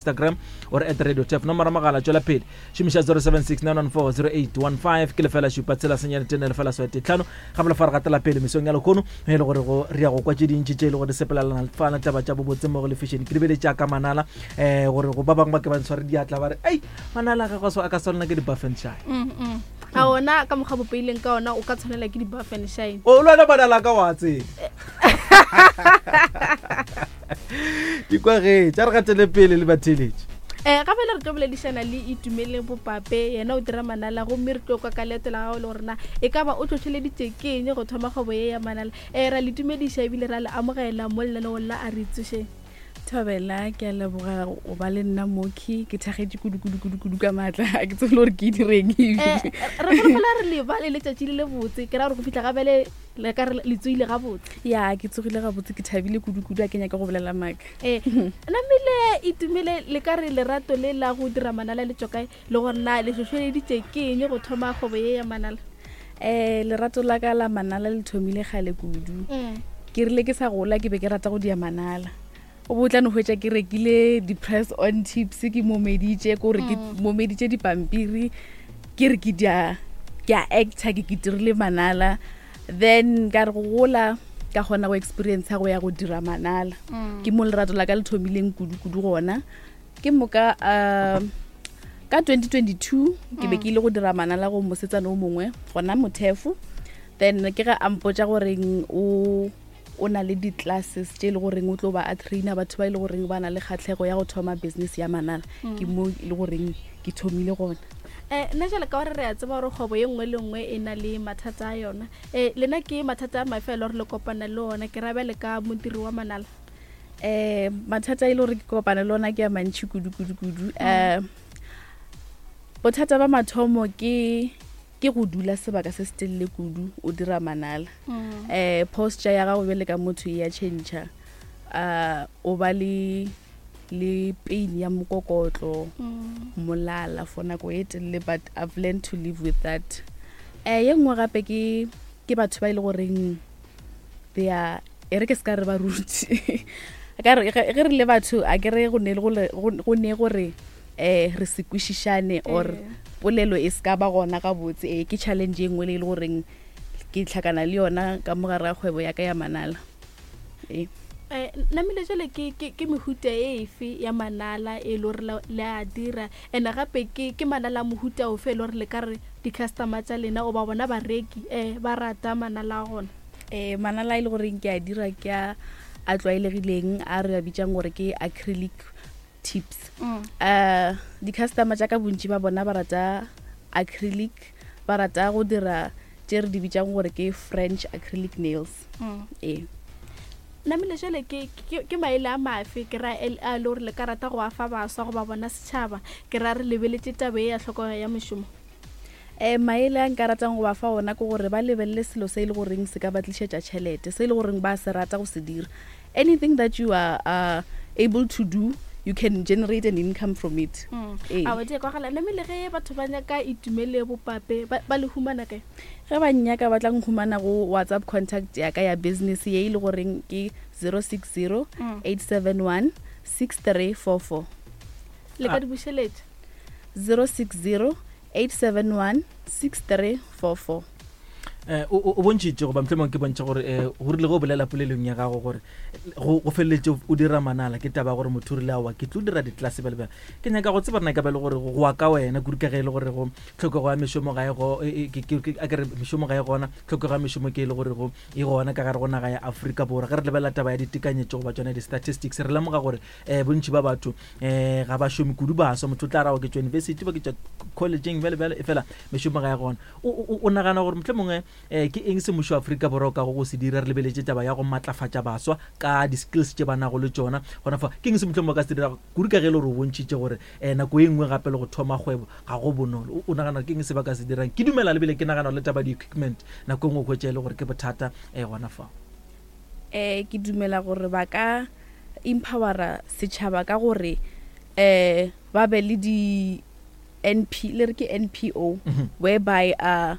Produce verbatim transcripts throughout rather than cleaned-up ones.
Instagram or at Radio Turf. Nomoro mogala, tšwela pele, šomiša zero seven six nine one four zero eight one five, ke lefela šupa tshela senyane tene lefela swete tlhano. Ga bola fa re gatela pele mesong ya lekgono, e le gore go re ya go kwa tše dintši tše e le gore di sepelelana fana taba tša bobotse mmogo le fashion. Ke lebeletše ka manala um gore go ba bangwe ba ke ba ntshware diatla, ba re ei, manala ga go a ka swanela ke di-buff and shine. Mm, mm. A ona ka mokgwa bopeileng ka ona, o ka tshwanela ke di-buff and shine. O le wena manala ka wa tseba dikwage tša re gatele pele le batheletše. um gape le re tlo boledišana le Itumeleng Bopape, yena o dira manala, gomme re tlo kwa ka leeto la gago le gorena e ka ba o tlhotlheleditše ke eng go thoma kgwebo ye ya manala. um ra le dumediša ebile ra le amogela mo lenaneong la A Re Itsošeng. Thobela, ke a leboga go ba le nna moki. Ke thagetše kudu-kudu-kudu-kudu ka maatla, a ke tsebe le gore ke e direng. um re golofela re lebale letšatši le le botse, ke ra gore go fitlha gabele le ka re le tsoile gabotse. Ya, ke tsogile gabotse, ke thabile kudu-kudu, a ke nyaka go bolela maaka. Ee, namile Itumele, le ka re lerato le la go dira manala le tswa kae, le gore na le hlohleleditše ke eng go thoma kgwebo ye ya manala? um lerato la ka la manala le thomile kgale kudu. Mm. Ke rile ke sa gola, ke be ke rata go dia manala. O bo tla no hwetša ke rekile di-press on tips, ke momeditše, ke gore ke momeditše dipampiri, ke re ke dia ke a actor, ke ke dirile manala. Then ka re go gola, ka kgona go experience go ya go dira manala. Ke mo lerato la ka le thomileng kudu-kudu gona. Ke moka um ka twenty twenty-two ke be ke ile go dira manala go mosetsana o mongwe gona Mothefo. Then ke ge a mpotša goreng o o na le di-classes tše e le goreng o tlo ba a trainer batho ba e le goreng ba na le kgatlhego ya go thoma business ya manala. Ke mo e le goreng ke thomile gona. um nna jale ka gore re a tseba gore kgwebo ye nngwe le nngwe e na le mathata a yona, um lena ke mathata a mafelo gore le kopana le ona, ke ra bjale ka modiri wa manala? um mathata e le gore ke kopana le ona ke a mantšhi kudu-kudu-kudu. um bothata ba mathomo ke ke go dula sebaka se se telele kudu o dira manala. um posture ya gago bjale ka motho e ya change, uh o ba le le pain ya mokokotlo, molala for nako e telele, but I've learned to live with that. um ye nngwe gape ke ke batho ba e le goreng they are, e re ke se ka re ba ruti ka re ge ge re le batho, a ke re go ne le go le- go go ne gore um re se kwešišane or Ee. polelo e se ka ba gona gabotse. Ee, ke challenge e nngwe le e le goreng ke tlhakana le yona ka mogare ga kgwebo ya ka ya manala, ee. um namile jale ke ke ke mehuta e efe ya manala e le gore le le a dira, and gape ke ke manala a mohuta ofe e le gore le ka re di-customer tša lena o ba bona bareki um ba rata manala a gona? um manala e le goreng ke a dira ke a a tlwaelegileng a re a bitsang gore ke acrylic tips. Mm. uh di-customer tša ka bontši ba bona ba rata acrylic, ba rata go dira tše re di bitsang gore ke French acrylic nails. Mm. Ee. Namile jale ke ke ke maele a mafe, ke ra el- a le gore le ka rata go afa baswa goba bona setšhaba, ke ra re lebeletše taba ye ya tlhokego ya mešomo? um maele a nka ratang go ba fa ona ke gore ba lebelele selo se e le goreng se ka ba tlišetša tšhelete, se e le goreng ba se rata go se dira. Anything that you are uh, able to do, you can generate an income from it. Mm. Ee. A di kwagala. Namile, ge batho ba nyaka Itumele Bopape, ba ba le humana kae? Ge ba nnyaka, ba tla nkhumana go WhatsApp contact ya ka ya business ye e le goreng ke zero six zero Mm. eight seven one six three four four. Le ka Ah. di bušeletša? zero six zero eight seven one six three four four. Eh, o o- o bontšhitše goba mohlomongwe ke bontšhe gore um go rile go bolela polelong ya gago gore go go feleletše o dira manala ke taba ya gore motho o rile, aowa, ke tlo dira ditlelase bjale. Ke nyaka go tseba rena ka ba le gore go wa ka wena kudu ka ge e le gore go tlhokego ya mešomo ga e go e- e- ke- ke- ke- a ke re mešomo ga e gona, tlhokego ya mešomo ke e le gore go e gona ka gare go naga ya Afrika Borwa. Ge re lebelela taba ya ditekanyetšo goba tsone di-statistics, re lemoga gore um bontši ba batho um ga ba šome, kudu baswa. Motho o tla rago ke tswa university ba ke tswa collegeng bjale bjale, e fela mešomo ga e gona. O o- o nagana gore mohlomongwe um ke eng se mmušo wa Afrika Borwa o kago go se dira, re lebeletše taba ya go matlafatša baswa ka di-skills tše ba nago le tšona gona fa? Ke eng se mohlomongwe ba ka se dirago, kudu ka ge e le gore o bontšhitše gore um nako e nngwe gape le go thoma kgwebo ga go bonolo? O- o nagana gore ke eng se ba ka se dirang? Ke dumela lebile ke nagana gore le taba di-equipment nako e nngwe o hwetša e le gore ke bothata um gona fao. um ke dumela gore ba ka empowera setšhaba ka gore um ba be le di N P, le re ke N P O, Mhm. whereby uh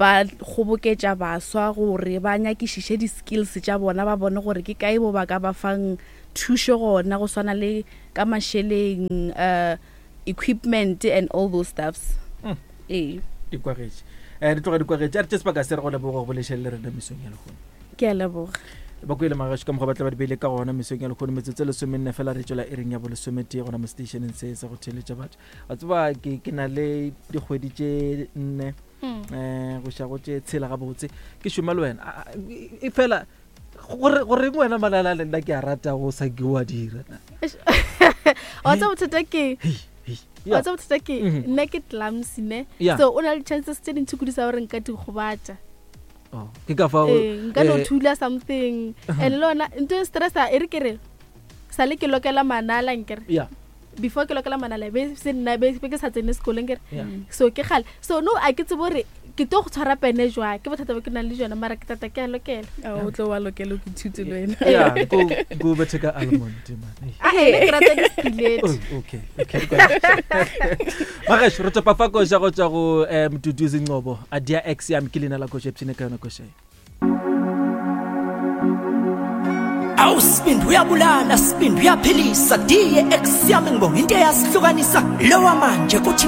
Ba kgoboketša baswa gore ba nyakišiše di-skills tša bona, ba bone gore ke kae bo ba ka ba fang thušo gona, go swana le ka mašeleng, uh, equipment and all those stuffs. Mm. Ee. Di kwagetše, um di tloga di kwagetše. A re tše sebaka se re go leboga go bolešeng le rena mesong ya lehono. Ke a leboga. Ba kwele magašo ka mokgwa ba tla ba di beile ka gona mesong ya lehono. Metsotso e lesomenne fela re tšwela ering ya bolesometee gona mo stationeng se sa go theeletša batho. Wa tseba ke ke na le dikgwedi tše nne Mm. um go ša go tše tshela gabotse ke šoma le wena. A- a- e fela gore goreng wena malala le nna ke a rata go sa ke wa dira na? Wa tseba bothata ke Hei, hei. wa Yeah. tseba bothata ke Mhm. nna ke clumsy ne. Yeah. So o na le chances tse dintsi kudu sa gore nka di gobatša. Oh, ke ka fao. Ee, nka no eh, thula something and le ona ntho e stressa e re ke re sale ke lokela manala nkere. Yeah Before ke lokela manala be se nna be be ke sa tsene sekolong kere. Yeah. So ke gale, so no a ke tsebe gore ke tlo go tshwara pene jwang, ke bothata bo ke nang le jona, mara ke tata ke a lokela. A o tlo wa lokela ke ithute le wena. Yeah, go go bethe ka almond man. Hey. A ene ke rata di-stiletto. Oh, okay okay magašo re topa fa koša go tšwa go um Mduduzi Ngcobo adia x yami ke leina la koša epshene ka yona koša e. Awusibindi uyabulala, sibindi uyaphilisa, diye ex yami, ngibonga into eyasihlukanisa lowa manje kuthi.